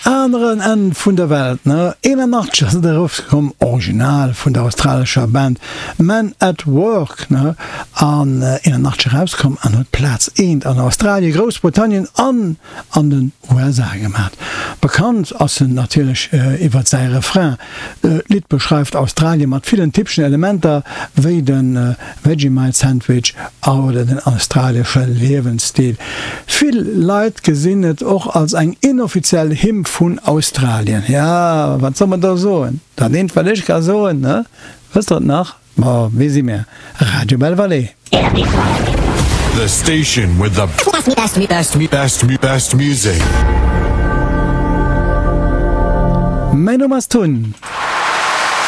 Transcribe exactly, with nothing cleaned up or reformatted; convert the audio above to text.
aneren Enn vun der Welt, ne? eenanachtzeg ass et erauskomm, original vun der australescher Band Men at Work, ne? An eenanachtzeg erauskomm an huet Plaz eent an Australien, Groussbritannien an an den U S A gemat. Bekannt ass en natierlech iwwert säi Refrain. D'Lidd beschreift Australien mat villen typeschen Elementer wéi de Vegemite Sandwich oder den australesche Liewensstil. Vill Leit gesinn et och als eng inoffiziell Hymn vun Australien. Ja, wat soll mer do soen? Dat eent wat ech ka soen, ne? Wësst der et nach? Ma wie si mir? Radio Belle Vallée. The station with the best, best, best, best music. Mäin Numm ass Tun.